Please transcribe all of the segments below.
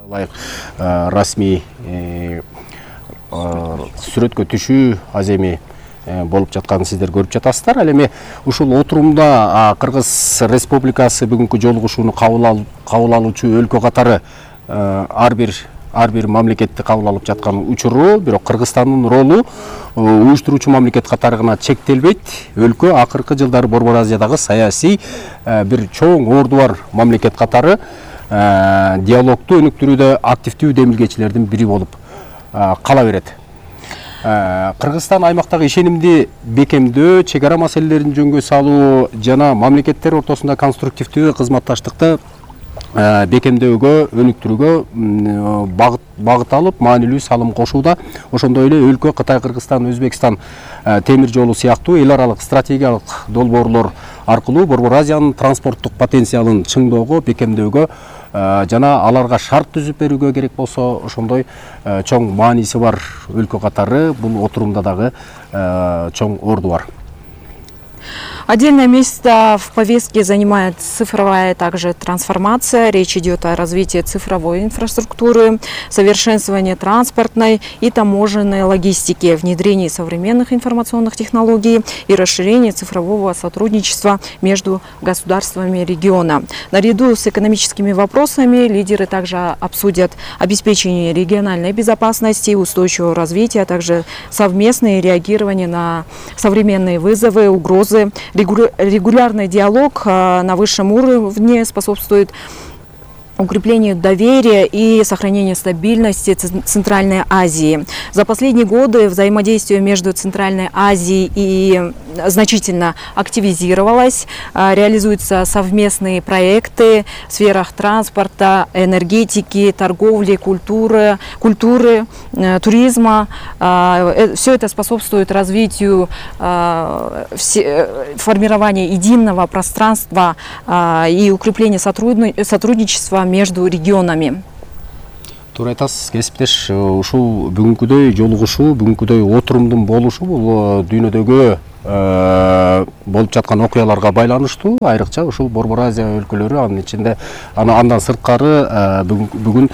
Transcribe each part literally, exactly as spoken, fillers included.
ылайык расмий сүрөткө түшүү аземи болуп жатканын сиздер көрүп жатасыздар. Ал эми ушул отурумда Кыргыз Республикасы бүгүнкү жолугушууну кабыл алуучу өлкө катары ар бир ар бир мамлекетти кабыл алып жаткан учуру, бирок Кыргызстандын ролу уюштуруучу мамлекет катары гана чектелбейт. Өлкө акыркы жылдары Борбор Азиядагы саясий бир чоң орду бар мамлекет катары диалогду өнүктүрүүдө активдүү демилгечилердин бири болуп кала берет. Кыргызстан аймактагы ишенимди бекемдөө, чек ара маселелерин жөнгө салуу жана мамлекеттер ортосунда конструктивдүү кызматташтыкты бекемдөөгө, өнүктүрүүгө багыт алып, маанилүү салым кошууда. Ошондой эле өлкө Кытай, Кыргызстан, Өзбекстан темир жолу сыяктуу эл аралык стратегиялык долбоорлор аркылуу Борбор Азиянын транспорттук потенциалын чыңдоого, бекемдөөгө жана аларга шарт түзүп берүүгө керек болсо, ошондой чоң мааниси бар өлкө катары бул отурумда дагы чоң орду бар. Отдельное место в повестке занимает цифровая также трансформация. Речь идет о развитии цифровой инфраструктуры, совершенствовании транспортной и таможенной логистики, внедрении современных информационных технологий и расширении цифрового сотрудничества между государствами региона. Наряду с экономическими вопросами лидеры также обсудят обеспечение региональной безопасности и устойчивого развития, а также совместное реагирование на современные вызовы, угрозы. Регулярный диалог на высшем уровне способствует укреплению доверия и сохранению стабильности Центральной Азии. За последние годы взаимодействие между Центральной Азией и значительно активизировалось. Реализуются совместные проекты в сферах транспорта, энергетики, торговли, культуры, культуры, туризма. Все это способствует развитию формирования единого пространства и укреплению сотрудничества между регионами. Туура айтасыз, кесиптеш, ушул бүгүнкүдөй жолугушуу, бүгүнкүдөй отурумдун болушу бул дүйнөдөгү болуп жаткан окуяларга байланыштуу, айрыкча ушул Борбор Азия өлкөлөрү, анын ичинде андан сырткары бүгүн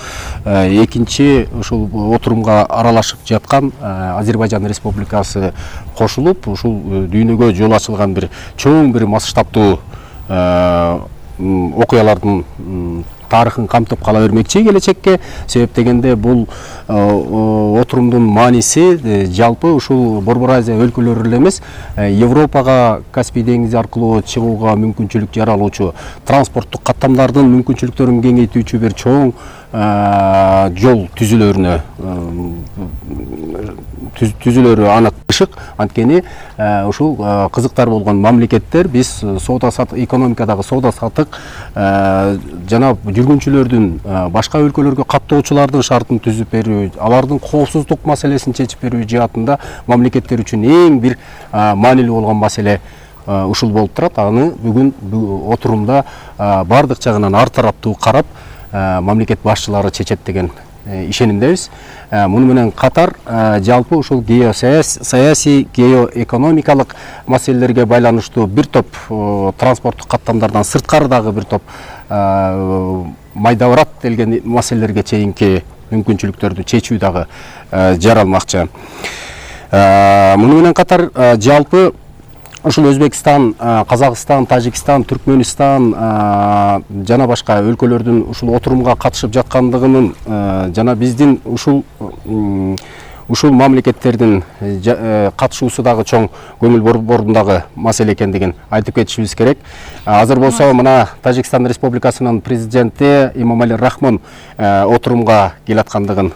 экинчи ушул отурумга аралашып жаткан Азербайжан Республикасы кошулуп, ушул дүйнөгө жол ачылган бир чоң бир масштабтуу окуялардын тарыхын камтып кала бермекчи келечекке. Себеп дегенде бул отурумдун мааниси жалпы ушул Борбор Азия өлкөлөрү эле эмес, Европага Каспий деңизи аркылуу чыгууга мүмкүнчүлүк жаралуучу, транспорттук каттамдардын мүмкүнчүлүктөрүн кеңейтүүчү бир чоң жол түзүлөрүнө түзүлөрү анык ышык. Анткени ушул кызыктар болгон мамлекеттер биз соода сатык, экономикадагы соода сатык жана жүргүнчүлөрдүн башка өлкөлөргө каттоочулардын шартын түзүп берүү, алардын коопсуздук маселесин чечип берүү жаатында мамлекеттер үчүн эң бир маанилүү болгон маселе ушул болуп турат. Аны бүгүн отурумда бардык жагынан ар тараптуу карап мамлекет башчылары чечет деген ишенимдебиз. Муну менен катар жалпы ушул геосаясий, геоэкономикалык маселелерге байланыштуу бир топ транспорттук каттамдардан сырткары дагы бир топ майдабырат делген маселелерге чейинки мүмкүнчүлүктөрдү чечүү дагы жаралмакчы. Муну менен катар жалпы ушул Өзбекстан, Казакстан, Тажикстан, Түркмөнстан жана башка өлкөлөрдүн ушул отурумга катышып жаткандыгынын жана биздин ушул ушул мамлекеттердин катышуусу дагы чоң көңүл борборундагы маселе экендигин айтып кетишибиз керек. Азыр болсо мына Тажикстан Республикасынын президенти Имомали Рахмон отурумга келаткандыгын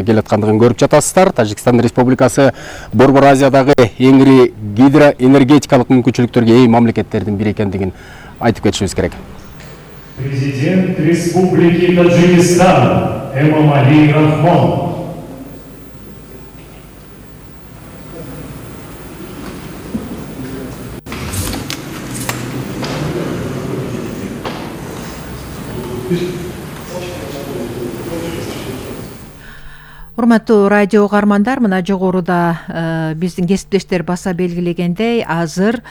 келаткандыгын көрүп жатасыздар. Тажикстан Республикасы Борбор Азиядагы эң ири гидроэнергетикалык мүмкүнчүлүктөргө ээ мамлекеттердин бири экендигин айтып кетишибиз керек. Президент Республики Таджикистан Эмомали Рахмон. Урматтуу радио угармандар, мына жогоруда биздин кесиптештер баса белгилегендей, азыр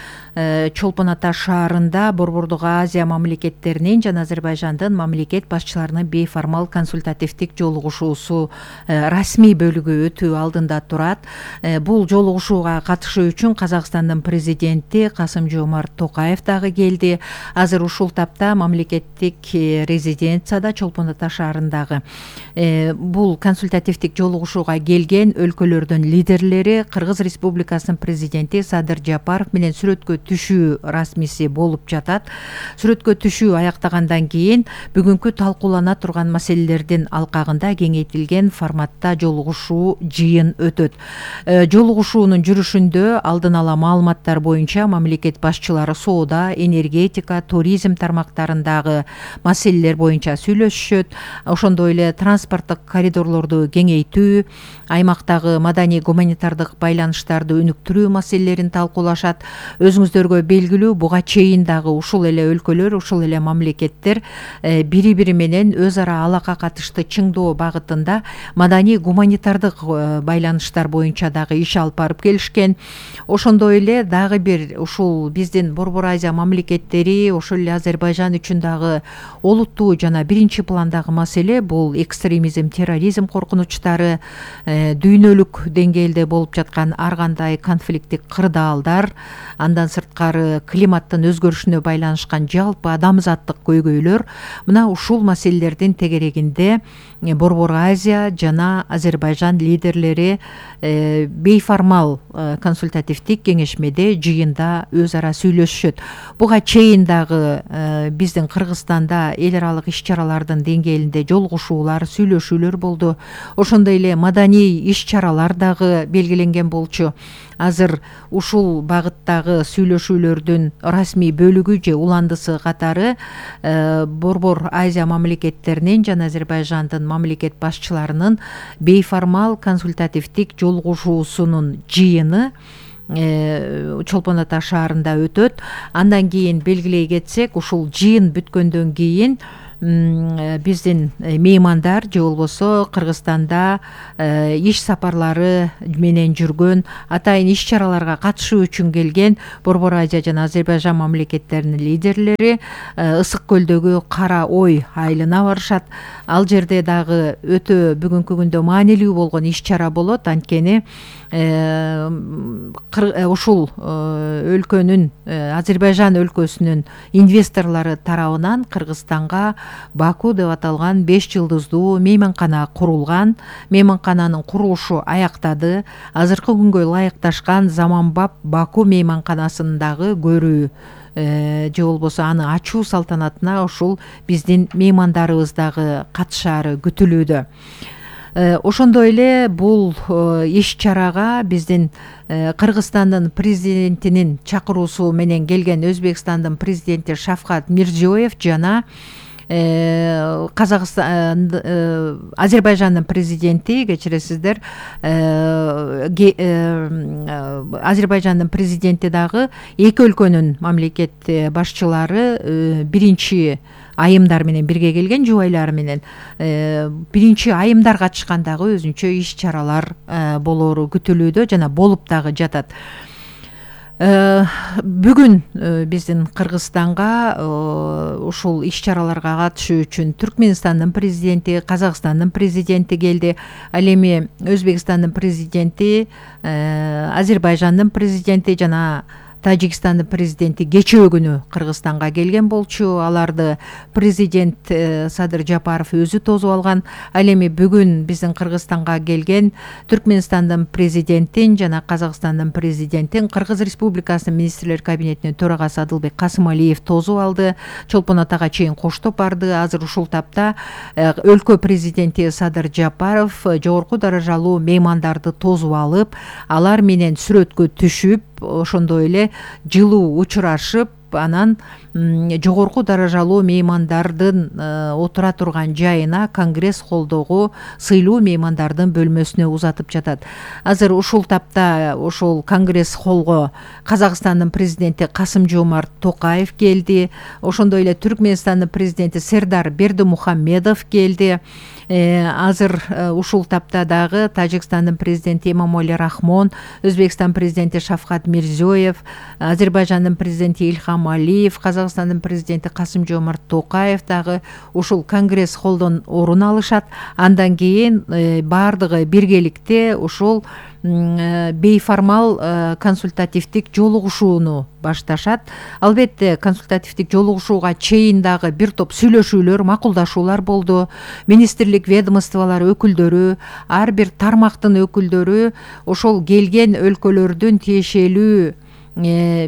Чолпон Ата шаарында Борбордук Азия мамлекеттеринин жана Азербайжандын мамлекет башчыларынын бейформал консультативдик жолугушуусу расмий бөлүгү өтүү алдында турат. Бул жолугушууга катышуу үчүн Казакстандын президенти Касым-Жомарт Токаев дагы келди. Азыр ушул тапта мамлекеттик резиденцияда Чолпон Ата шаарындагы бул консультативдик жолугушууга келген өлкөлөрдүн лидерлери Кыргыз Республикасынын президенти Садыр Жапаров менен сүрөткө түшүү расмиси болуп жатат. Сүрөткө түшүү аяктагандан кийин бүгүнкү талкуулана турган маселелердин алкагында кеңейтилген форматта жолугушуу жыйын өтөт. Жолугушуунун жүрүшүндө алдын ала маалыматтар боюнча мамлекет башчылары соода, энергетика, туризм тармактарындагы маселелер боюнча сүйлөшүшөт. Ошондой эле транспорттук коридорлорду кеңейтүү, аймактагы маданий гуманитардык байланыштарды өнүктүрүү маселелерин талкуулашат. Өзүңүздөргө белгилүү, буга чейин дагы ушул эле өлкөлөр, ушул эле мамлекеттер бири-бири менен өз ара алака катышты чыңдоо багытында маданий гуманитардык байланыштар боюнча дагы иш алып барып келишкен. Ошондой эле дагы бир ушул биздин Борбор Азия мамлекеттери, ошол эле Азербайжан үчүн дагы олуттуу жана биринчи пландагы маселе бул экстремизм, терроризм коркунучтары, дүйнөлүк деңгээлде болуп жаткан ар кандай конфликттик кырдаалдар, андан сырткары климаттын өзгөрүшүнө байланышкан жалпы адамзаттык көйгөйлөр. Мына ушул маселелердин тегерегинде Борбор Азия жана Азербайжан лидерлери бейформал консультативдик кеңешмеде жыйында өз ара сүйлөшүшөт. Буга чейин дагы биздин Кыргызстанда эл аралык иш-чаралардын деңгээлинде жолугушуулар, сүйлөшүүлөр болду. Ошондой эле маданий иш-чаралар дагы белгиленген болчу. Азыр ушул багыттагы сүйлөшүүлөрдүн расмий бөлүгү же уландысы катары Борбор Азия мамлекеттеринин жана Азербайжандын мамлекет башчыларынын бейформал консультативдик жолугушуусунун жыйыны Чолпон Ата шаарында өтөт. Андан кийин белгилей кетсек, ушул жыйын бүткөндөн кийин биздин меймандар же болбосо Кыргызстанда иш сапарлары менен жүргөн, атайын иш-чараларга катышуу үчүн келген Борбор Азия жана Азербайжан мамлекеттеринин лидерлери Ысык көлдөгү Кара Ой айылына барышат. Ал жерде дагы өтө бүгүнкү күндө маанилүү болгон иш-чара болот. Анткени ушул өлкөнүн, Азербайжан өлкөсүнүн инвесторлору тарабынан Кыргызстанга Баку деп аталган беш жылдыздуу мейманкана курулган. Мейманкананын курулушу аяктады. Азыркы күнгө ылайыкташкан заманбап Баку мейманканасын дагы көрүү же болбосо аны ачуу салтанатына ушул биздин меймандарыбыз дагы катышаары күтүлүүдө. Ошондой эле бул иш-чарага биздин Кыргызстандын президентинин чакыруусу менен келген Өзбекстандын президенти Шавкат Мирзиёев жана Казакстан, Азербайжандын президенти, кечиресиздер, Азербайжандын президенти дагы эки өлкөнүн мамлекет башчылары биринчи айымдар менен бирге келген, жубайлары менен биринчи айымдар катышкан дагы өзүнчө иш-чаралар болоору күтүлүүдө жана болуп дагы жатат. Бүгүн биздин Кыргызстанга ушул иш-чараларга катышуу үчүн Түркмөнстандын президенти, Казакстандын президенти келди. Ал эми Өзбекстандын президенти, Азербайжандын президенти жана Тажикстандын президенти кечээ күнү Кыргызстанга келген болчу. Аларды президент Садыр Жапаров өзү тосуп алган. Ал эми бүгүн биздин Кыргызстанга келген Түркмөнстандын президентин жана Казакстандын президентин Кыргыз Республикасынын министрлер кабинетинин төрагасы Адылбек Касымалиев тосуп алды. Чолпон Атага чейин коштоп барды. Азыр ушул тапта өлкө президенти Садыр Жапаров жогорку даражалуу меймандарды тосуп алып, алар менен сүрөткө түшүп, ошондой эле жылуу учурашып, анан жогорку даражалуу меймандардын отура турган жайына Конгресс холдогу сыйлуу меймандардын бөлмөсүнө узатып жатат. Азыр ушул тапта ошол Конгресс холго Казакстандын президенти Касым-Жомарт Токаев келди. Ошондой эле Түркмөнстандын президенти Сердар Бердимухамедов келди. Азыр ушул тапта дагы Тажикстандын президенти Эмомали Рахмон, Өзбекстан президенти Шавкат Мирзиёев, Азербайжандын президенти Ильхам Алиев, Казакстандын президенти Касым-Жомарт Токаев дагы ушул Конгресс холдон орун алышат. Андан кийин баардыгы биргеликте ушул бейформал консультативдик жолугушууну башташат. Албетте консультативдик жолугушууга чейин дагы бир топ сүйлөшүүлөр, макулдашуулар болду. Министрлик ведомстволор өкүлдөрү, ар бир тармактын өкүлдөрү ошол келген өлкөлөрдүн тиешелүү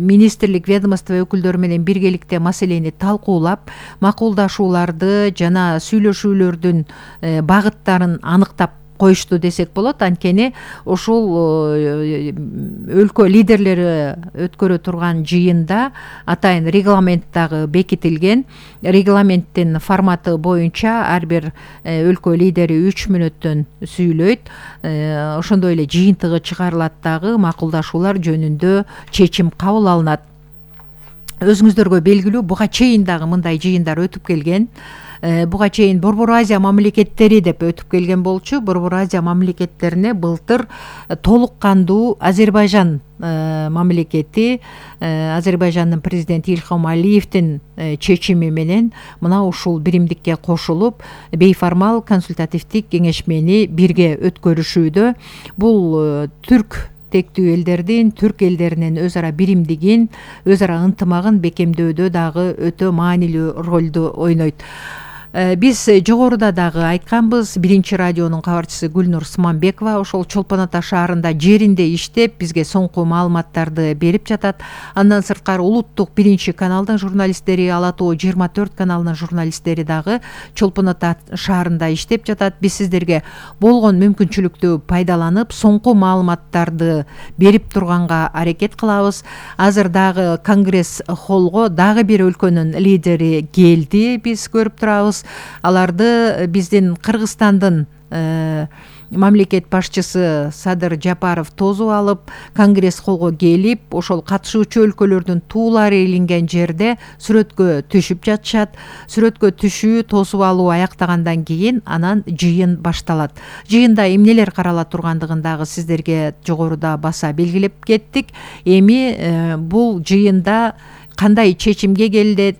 министрлик ведомство өкүлдөрү менен биргеликте маселени талкуулап, макулдашууларды жана сүйлөшүүлөрдүн багыттарын аныктап коюшту десек болот. Анткени ушул өлкө лидерлери өткөрө турган жыйында атайын регламент дагы бекитилген. Регламенттин форматы боюнча ар бир өлкө лидери үч мүнөттөн сүйлөйт. Ошондой эле жыйынтыгы чыгарылат дагы, макулдашуулар жөнүндө чечим кабыл алынат. Өзүңүздөргө белгилүү, буга чейин дагы мындай жыйындар өтүп келген. Буга чейин Борбор Азия мамлекеттери деп өтүп келген болчу. Борбор Азия мамлекеттерине былтыр толук кандуу Азербайжан мамлекети, Азербайжандын президенти Ильхам Алиевдин чечими менен мына ушул биримдикке кошулуп, бейформал консультативдик кеңешмени бирге өткөрүшүүдө. Бул түрк тектүү элдердин, түрк элдеринин өз ара биримдигин, өз ара ынтымагын бекемдөөдө дагы өтө маанилүү ролду ойнойт. Биз жогоруда дагы айтканбыз, биринчи радионун кабарчысы Гүлнур Сманбекова ошол Чолпон Ата шаарында жеринде иштеп, бизге соңку маалыматтарды берип жатат. Андан сырткары улуттук биринчи каналдын журналисттери, Ала Тоо жыйырма төрт каналынын журналисттери дагы Чолпон Ата шаарында иштеп жатат. Биз сиздерге болгон мүмкүнчүлүктү пайдаланып, соңку маалыматтарды берип турганга аракет кылабыз. Азыр дагы Конгресс холго дагы бир өлкөнүн лидери келди, биз көрүп турабыз. Аларды биздин Кыргызстандын мамлекет башчысы Садыр Жапаров тосуп алып, Конгресс холго келип, ошол катышуучу өлкөлөрдүн туулары илинген жерде сүрөткө түшүп жатышат. Сүрөткө түшүү, тосуп алуу аяктагандан кийин анан жыйын башталат. Жыйында эмнелер карала тургандыгын дагы сиздерге жогоруда баса белгилеп кеттик. Эми бул жыйында кандай чечимге келип